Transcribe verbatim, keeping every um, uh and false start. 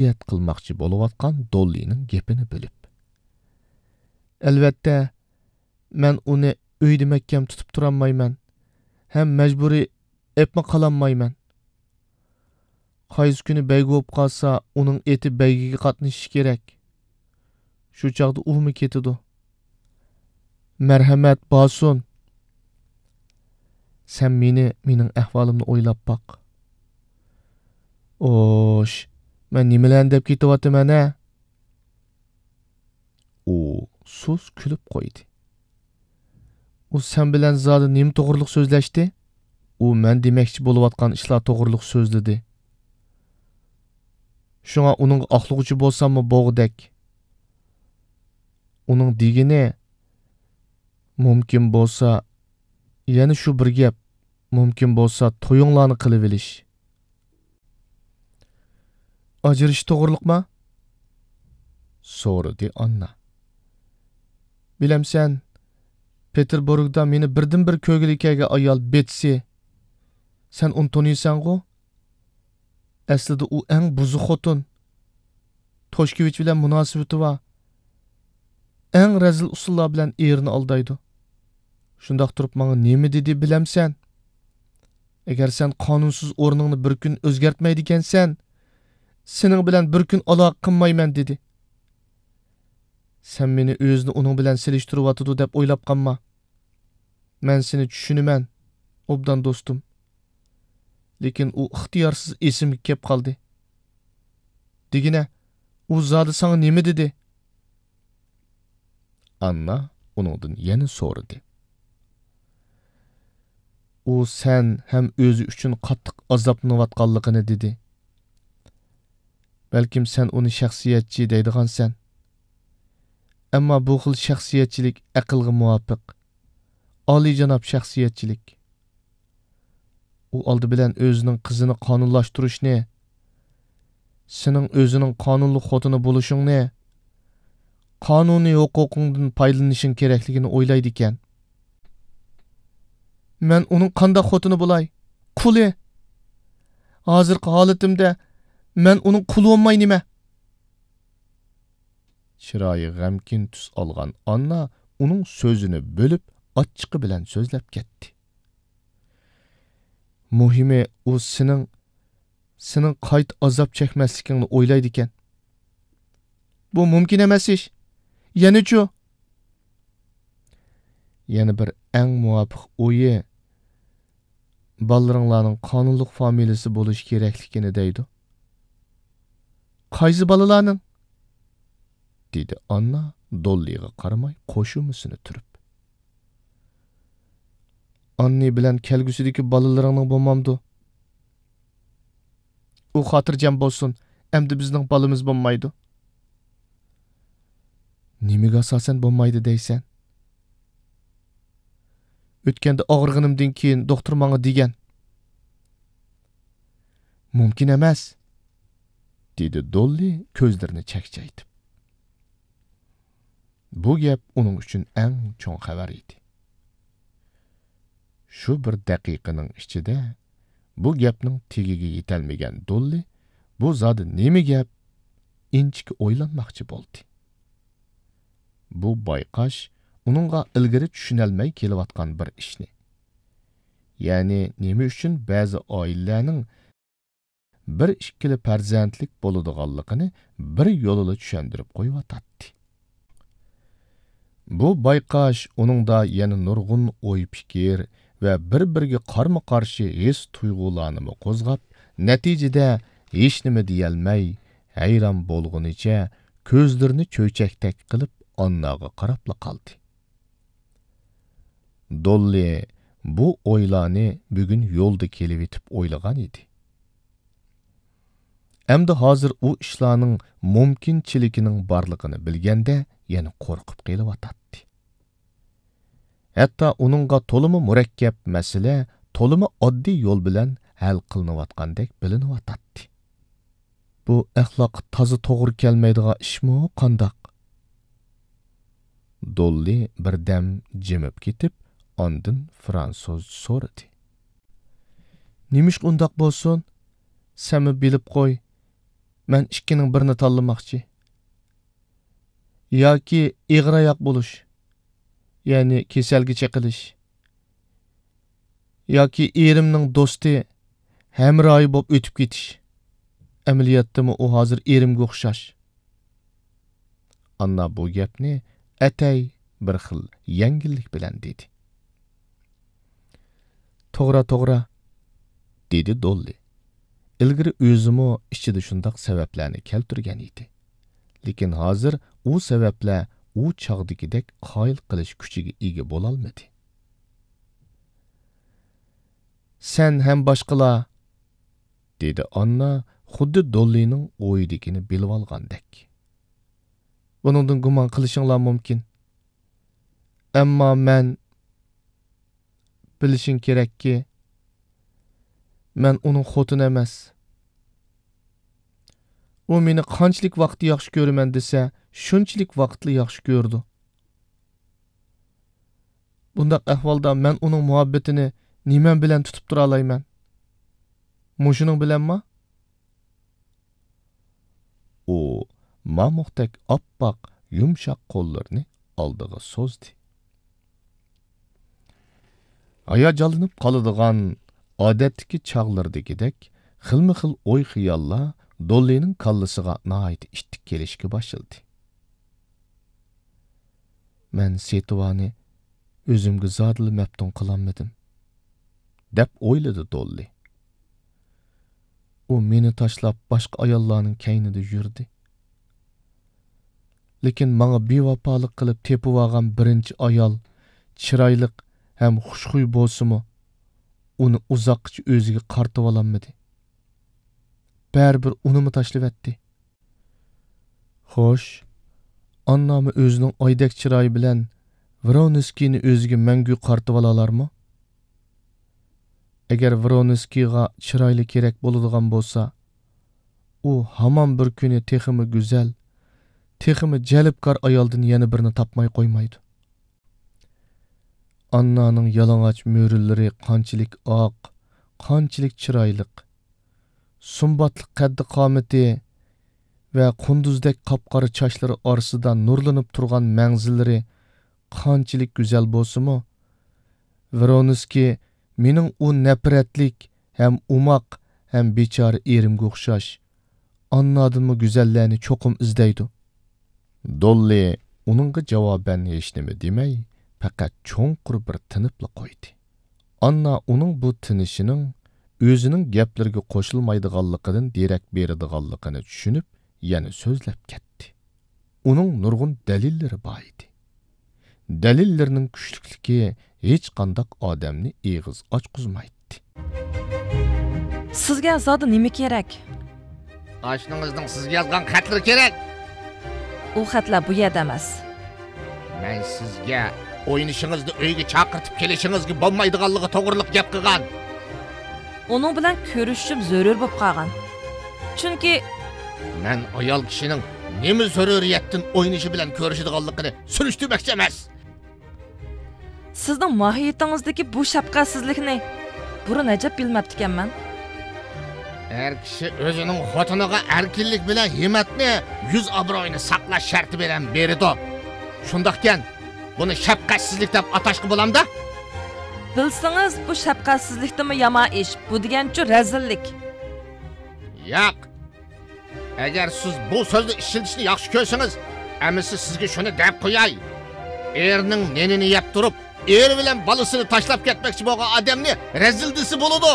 نەسىھەت قىلماقچى بولۇۋاتقان دوللىنىڭ گېپىنى بۆلۈپ. ئەلۋەتتە، مەن ئۇنى ئۆيدە مەھكەم تۇتۇپ تۇرالمايمەن ھەم مەجبۇرىي ئېپمۇ قالالمايمەن. قايسى كۈنى بەيگە بولۇپ قالسا، ئۇنىڭ ئېتى بەيگىگە قاتنىشىشى كېرەك. شۇ چاغدا ئۇمۇ كېتىدۇ. مەرھەمەت، بارسۇن. سەن مېنى، مېنىڭ ئەھۋالىمنى ئويلاپ باق. ئوش، مەن نېمىلەرنى دەپ كېتىۋاتىمەن، ھە؟ ئۇ سۇس كۈلۈپ قويدى. ئۇ سەن بىلەن زادى نېمە توغرىلىق سۆزلەشتى؟ ئۇ مەن دېمەكچى بولۇۋاتقان ئىشلار توغرىلىق سۆزلىدى. شۇڭا ئۇنىڭغا ئاقلىغۇچى بولساممۇ بولغۇدەك. ئۇنىڭ دېگىنى، مۇمكىن بولسا، يەنە شۇ بىر گەپ، مۇمكىن بولسا تويۇڭلارنى قىلىۋېلىش. ئاجرىشىش توغرىلىقما؟ سورىدى ئاننا. بىلەمسەن، پېتېربۇرگدا مېنى بىردىنبىر كۆرگىلى كەلگەن ئايال بېتسى. سەن ئۇنى تونۇيسەنغۇ؟ ئەسلىدە ئۇ ئەڭ بۇزۇق خوتۇن. توشكېۋىچ بىلەن مۇناسىۋىتى بار. ئەڭ رەزىل ئۇسۇللار بىلەن ئېرىنى ئالدايدۇ. شۇنداق تۇرۇپ ماڭا نېمە دېدى بىلەمسەن؟ ئەگەر سەن قانۇنسىز ئورنۇڭنى بىر كۈن ئۆزگەرتمەيدىكەنسەن، سېنىڭ بىلەن بىر كۈن ئالاقە قىلمايمەن دېدى. سەن مېنى ئۆزىنى ئۇنىڭ بىلەن سېلىشتۇرۇۋاتىدۇ دەپ ئويلاپ قالما. مەن سېنى چۈشىنىمەن، ئوبدان دوستۇم. لېكىن ئۇ ئىختىيارسىز ئېسىمگە كەپ قالدى. دېگىنە، ئۇ زادى ساڭا نېمە دېدى؟ ئاننا ئۇنىڭدىن يەنە سورىدى. ئۇ سەن ھەم ئۆزى ئۈچۈن قاتتىق ئازابلىنىۋاتقانلىقىنى دېدى. بەلكىم سەن ئۇنى شەخسىيەتچى دەيدىغانسەن. ئەمما بۇ خىل شەخسىيەتچىلىك ئەقىلگە مۇۋاپىق، ئالىيجاناب شەخسىيەتچىلىك. ئۇ ئالدى بىلەن ئۆزىنىڭ قىزىنى قانۇنلاشتۇرۇشنى، سېنىڭ ئۆزىنىڭ قانۇنلۇق خوتۇنى بولۇشۇڭنى، قانۇنىي ھوقۇقۇڭدىن پايدىلىنىشىڭ كېرەكلىكىنى ئويلايدىكەن. مەن ئۇنىڭ قانداق خوتۇنى بولاي؟ قۇلى! ھازىرقى ھالىتىمدە مەن ئۇنىڭ قۇلى بولماي نېمە؟ چىرايى غەمكىن تۈس ئالغان ئاننا ئۇنىڭ سۆزىنى بۆلۈپ، ئاچچىقى بىلەن سۆزلەپ كەتتى. مۇھىمى، ئۇ سېنىڭ، سېنىڭ قايتا ئازاب چەكمەسلىكىڭنى ئويلايدىكەن. بۇ مۇمكىن ئەمەس ئىش. يەنىچۇ؟ يەنە بىر ئەڭ مۇۋاپىق ئويى، بالىلىرىڭلارنىڭ قانۇنلۇق فامىلىسى بولۇشى كېرەكلىكىنى دەيدۇ. قايسى بالىلارنىڭ؟ دېدى ئاننا دوللىغا قارىماي قوشۇمىسىنى تۈرۈپ. ئاننى بىلەن كەلگۈسىدىكى بالىلىرىڭنىڭ بولمامدۇ؟ ئۇ خاتىرجەم بولسۇن، ئەمدى بىزنىڭ بالىمىز بولمايدۇ. نېمىگە ئاساسەن بولمايدۇ دەيسەن؟ ئۆتكەندە ئاغرىغىنىمدىن كېيىن دوختۇر ماڭا دېگەن. مۇمكىن ئەمەس، دېدى دوللى كۆزلىرىنى چەكچەيتىپ. بۇ گەپ ئۇنىڭ ئۈچۈن ئەڭ چوڭ خەۋەر ئىدى. شۇ بىر دەقىقىنىڭ ئىچىدە بۇ گەپنىڭ تېگىگە يېتەلمىگەن دوللى بۇ زادى نېمە گەپ؟ ئىنچىكە ئويلانماقچى بولدى. بۇ بايقاش ئۇنىڭغا ئىلگىرى چۈشىنەلمەي كېلىۋاتقان بىر ئىشنى، يەنى نېمە ئۈچۈن بەزى ئائىلىلەرنىڭ بىر ئىككىلا پەرزەنتلىك بولىدىغانلىقىنى بىر يولىلا چۈشەندۈرۈپ قويۇۋاتاتتى. بۇ بايقاش ئۇنىڭدا يەنە نۇرغۇن ئوي-پىكىر ۋە بىر-بىرىگە قارىمۇ-قارشى ھېس-تۇيغۇلارنىمۇ قوزغاپ، نەتىجىدە ھېچنېمە دېيەلمەي، ھەيران بولغىنىچە كۆزلىرىنى چۆچەكتەك قىلىپ ئانناغا قاراپلا قالدى. دوللى بۇ ئويلارنى بۈگۈن يولدا كېلىۋېتىپ ئويلىغان ئىدى. ئەمدى ھازىر ئۇ ئىشلارنىڭ مۇمكىنچىلىكىنىڭ بارلىقىنى بىلگەندە يەنە قورقۇپ قېلىۋاتاتتى. ھەتتا ئۇنىڭغا تولىمۇ مۇرەككەپ مەسىلە تولىمۇ ئاددىي يول بىلەن ھەل قىلىنىۋاتقاندەك بىلىنىۋاتاتتى. بۇ ئەخلاققا تازا توغرا كەلمەيدىغان ئىشمۇ قانداق؟ دوللى بىردەم جىمىپ كېتىپ، ئاندىن فرانسۇزچە سورىدى. نېمىشقا ئۇنداق بولسۇن؟ سەنمۇ بىلىپ قوي، مەن ئىككىنىڭ بىرىنى تاللىماقچى. ياكى ئېغىر ئاياق بولۇش، يەنى كېسەلگە چېقىلىش، ياكى ئېرىمنىڭ دوستى، ھەمراھى بولۇپ ئۆتۈپ كېتىش. ئەمەلىيەتتىمۇ ئۇ ھازىر ئېرىمگە ئوخشاش. ئاننا بۇ گەپنى ئەتەي بىر خىل يەڭگىللىك بىلەن دېدى. توغرا، توغرا، دېدى دوللى. ئىلگىرى ئۆزىمۇ ئىچىدە شۇنداق سەۋەبلەرنى كەلتۈرگەن ئىدى. لېكىن ھازىر ئۇ سەۋەبلەر ئۇ چاغدىكىدەك قايىل قىلىش كۈچىگە ئىگە بولالمىدى. سەن ھەم باشقىلار، دېدى ئاننا خۇددى دوللىنىڭ ئويىدىكىنى بىلىۋالغاندەك. بۇنىڭدىن گۇمان قىلىشىڭلار مۇمكىن. ئەمما مەن، بىلىشىڭ كېرەككى، مەن ئۇنىڭ خوتۇنى ئەمەس. ئۇ مېنى قانچىلىك ۋاقىت ياخشى كۆرىمەن دېسە، شۇنچىلىك ۋاقىتلا ياخشى كۆرىدۇ. بۇنداق ئەھۋالدا مەن ئۇنىڭ مۇھەببىتىنى نېمە بىلەن تۇتۇپ تۇرالايمەن؟ مۇشۇنىڭ بىلەنما؟ ئۇ مامۇقتەك ئاپئاق، يۇمشاق قوللىرىنى ئالدىغا سوزدى. ھاياجانلىنىپ قالىدىغان ئادەتتىكى چاغلىرىدىكىدەك خىلمۇ خىل ئوي-خىياللار دوللىنىڭ كاللىسىغا ناھايىتى ئىتتىك كېلىشكە باشلىدى. مەن سېتىۋانى ئۆزۈمگە زادىلا مەپتۇن قىلالمىدىم، دەپ ئويلىدى دوللى. ئۇ مېنى تاشلاپ باشقا ئاياللارنىڭ كەينىدە يۈردى. لېكىن ماڭا بىۋاپالىق قىلىپ تېپىۋالغان بىرىنچى ئايال چىرايلىق ھەم خۇشخۇي بولسىمۇ، ئۇنى ئۇزاققىچە ئۆزىگە قارىتىۋالالمىدى. بەرىبىر ئۇنىمۇ تاشلىۋەتتى. خوش، ئاننامۇ ئۆزىنىڭ ئايدەك چىرايى بىلەن ۋرونسكىينى ئۆزىگە مەڭگۈ قارىتىۋالالارمۇ؟ ئەگەر ۋرونسكىيغا چىرايلىق كېرەك بولىدىغان بولسا، ئۇ ھامان بىر كۈنى تېخىمۇ گۈزەل، تېخىمۇ جەلپكار ئايالدىن يەنە بىرنى تاپماي قويمايدۇ. ئاننانىڭ يالىڭاچ مۈرىلىرى قانچىلىك ئاق، قانچىلىك چىرايلىق. سۇمباتلىق قەددى-قامىتى ۋە قۇندۇزدەك قاپقارا چاچلىرى ئارىسىدا نۇرلىنىپ تۇرغان مەڭزىلىرى قانچىلىك گۈزەل بولسىمۇ، ۋرونسكىي مېنىڭ ئۇ نەپرەتلىك ھەم ئوماق ھەم بىچارە ئېرىمگە ئوخشاش ئاننادىنمۇ گۈزەللەرنى چوقۇم ئىزدەيدۇ. دوللى ئۇنىڭغا جاۋابەن ھېچنېمە دېمەي، پەقەت چوڭقۇر بىر تىنىپلا قويدى. ئاننا ئۇنىڭ بۇ تىنىشىنىڭ ئۆزىنىڭ گەپلىرىگە قوشۇلمايدىغانلىقىدىن دېرەك بېرىدىغانلىقىنى چۈشىنىپ، يەنە سۆزلەپ كەتتى. ئۇنىڭ نۇرغۇن دەلىللىرى بار ئىدى. دەلىللىرىنىڭ كۈچلۈكلۈكى ھېچقانداق ئادەمنى ئېغىز ئاچقۇزمايتتى. سىزگە زادى نېمە كېرەك؟ ئاشنىڭىزنىڭ سىزگە يازغان خەتلىرى كېرەك. ئۇ خەتلەر بۇ يەردە ئەمەس. مەن سىزگە ئوينىشىڭىزنى ئۆيگە چاقىرتىپ كېلىشىڭىزگە بولمايدىغانلىقى توغرىلىق گەپ قىلغان. ئۇنىڭ بىلەن كۆرۈشۈشۈم زۆرۈر بولۇپ قالغان. چۈنكى مەن ئايال كىشىنىڭ نېمە زۆرۈرىيەتتىن ئوينىشى بىلەن كۆرۈشىدىغانلىقىنى سۈرۈشتۈرمەكچى ئەمەس. سىزنىڭ ماھىيىتىڭىزدىكى بۇ شەپقەتسىزلىكنى بۇرۇن ئەجەب بىلمەپتىكەنمەن. ئەر كىشى ئۆزىنىڭ خوتۇنىغا ئەركىنلىك بىلەن ھىممەتنى، يۈز ئابرۇيىنى ساقلاش شەرتى بىلەن بېرىدۇ. شۇنداقكەن، بۇنى شەپقەتسىزلىك دەپ ئاتاشقا بولامدا؟ بىلسىڭىز، بۇ شەپقەتسىزلىكتىنمۇ يامان ئىش، بۇ دېگەنچۇ رەزىللىك. ياق. ئەگەر سىز بۇ سۆزنى ئىشلىتىشنى ياخشى كۆرسىڭىز، ئەمىسە سىزگە شۇنى دەپ قوياي. ئېرىنىڭ نېنىنى يەپ تۇرۇپ، ئېرى بىلەن بالىسىنى تاشلاپ كەتمەكچى بولغان ئادەمنى رەزىل دېسە بولىدۇ.